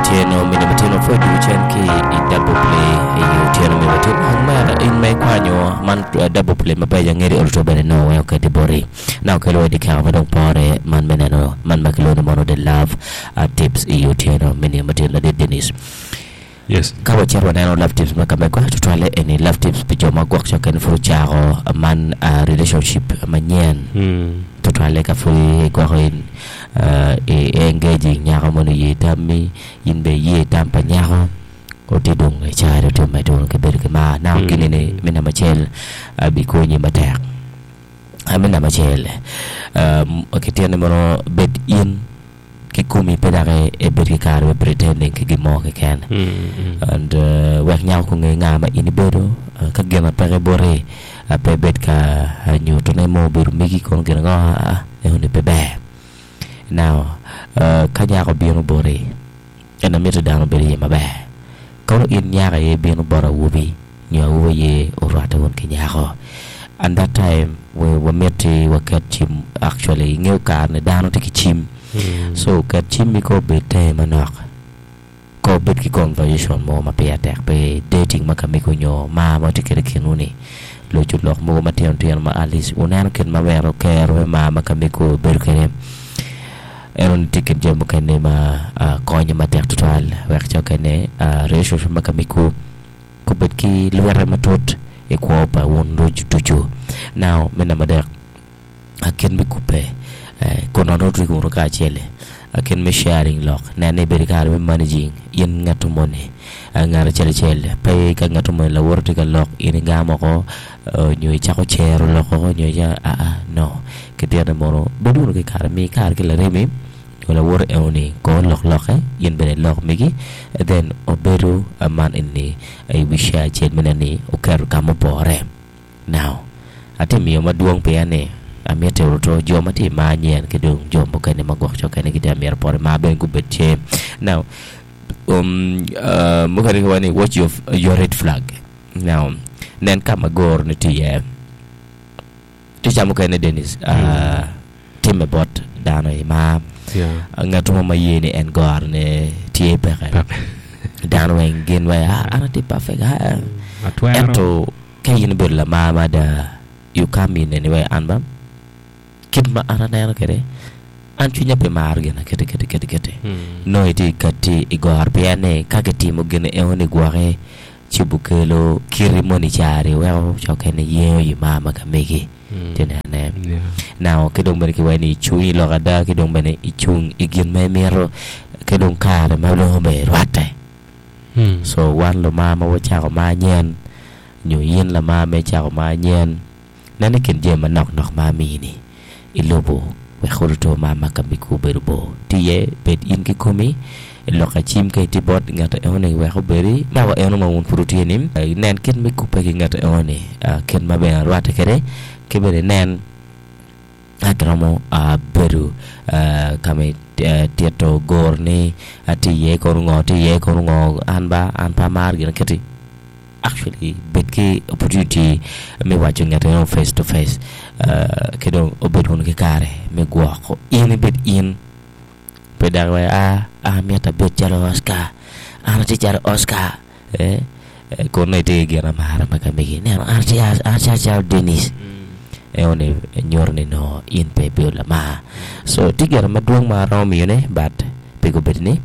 otyeno mine matino pwod ducu cen ki i double play i otyeno mine matino omera in ma ikwanyo man double play mabeco angeri oluto bene nongo weng oketi boti na okelo wa i dyekaka ma dong pore man me neno man ma kilwongo ni mono the love tips i otyeno mine matino ladit Dennis. Yes. Ka wacito waneno love tips ma ka megwa tutwalle eni love tips pi jo ma gwok cokke ni pud ocako man relationship manyen tutwalle ka pud igwoko in i engaging nyako mono oye tammi in bene iye tam pa nyako oti dong icari oti omedde wunu ki bedo ki mar now gin eni me namba acel bikonyi matek. Me namba acel kityen ni mono bed in ki komi pe dok ibed ki kare me pretending ki gin mo keken and wek nyako kunge nga ma in ibedo ka gin ma peke boti pe ibed ka nyutone mo obedo megi kono gin ango aa enoni pe ber now ka nyako obino boti en amiti dano obed iye maber kono in nyako aye ibino bot awobi nyo awobi aye orwatte wun ki nyako and that time wamiti waket cim actually ingeyo kare ni dano tye ki cim so ket cimmi ko obed tenge manok ko obed ki conversation mo ma pire tek pe dating ma ka mego nyo mar ma tye kwede i kinwu ni loco lok mogo matino tino ma at least wuneno kit ma weko kero me mar ma ka mego bedo kwede eno tye kin jami mukene ma konyo matek tutwal wek co kene relationship ma ka mego Gubed ki lwite matut i kwo pa wun ducu. Now, me namba adek, kit me kubbe kun nongo wutye wunu kacel-li, kit me sharing lok, nen ni ibedo ki kare me managing in ngat moni ngat acel acel. Pe ka ngat moni lawote tye ka lok in igamo woko nyo icako cero lok woko nyo aa no. Kitito ni mono bed wunu ki kare, mi kare ki laremi. Nyo lawote eno ni kor lok lokke, in bene ilok megi, then obedo man eni i wi share acel me neno ni oketo ka mupore. Now, atye miyo madwong pien ni amiti oruto jo ma tye i mar nyen ki dong jo mukene ma gwok cokene gitye ka mito poto i mar bene gubed tye. Now, um, uh, mukene giwaco ni watch your, your red flag. Now, nen ka ma goro ni tye iye. Tica mukene Dennis timme bot dano i mar. Ngat mo ma ye ni en goro ne tye peke. Dano weng gin weng ah an atye perfect ah. Ento ka in ibedo lamar mada you come in anyway an ba kit ma an aneno kwede an cwinya pe maro gin aketi keti keti keti. Nongo itye kati i goro pien ni ka kitimo gin eno ni gwoki Ci bukelo kiti moni cari weko cokke ni yengo i mar ma ka megi. Tye nene. Now, ki dong bene kiwaco ni icung i lok ada ki dong bene icung i gin ma imito ki dong kare ma nongo bene irwatte. So wan lumar ma wacako mar nyen nyo in lamar ma icako mar nyen, Nen i kin jami manok nok ma amini i lobo wek oruto mar ma ka migi obedo bor. Ti iye, bed in kikomi, lok acim ka itye bot ngat enoni wek obedi naka eno ma wun pud wutye ni. Nen kit me kubbe ki ngat enoni, kit ma bene rwatte kwede, ki bene inen ka kiromo bedo ka ma itito goro ni atye iye kono ngo, atye iye kono ngo, an ba an pe amaro gin aketi. Actually bed ki opportunity me waco ngat eno face to face ki dong obed wunu ki kare me gwoko in ibed in pe dok iwaco aa an amyero abed calo Oscar an atye calo Oscar eh kun nongo itye ki gin amara ma ka megi ineno an atye an atye calo Dennis eno ni nyuto ni nongo in pe ibedo lamar so tye gin madwong ma aromo miyone but pe gubedo ni.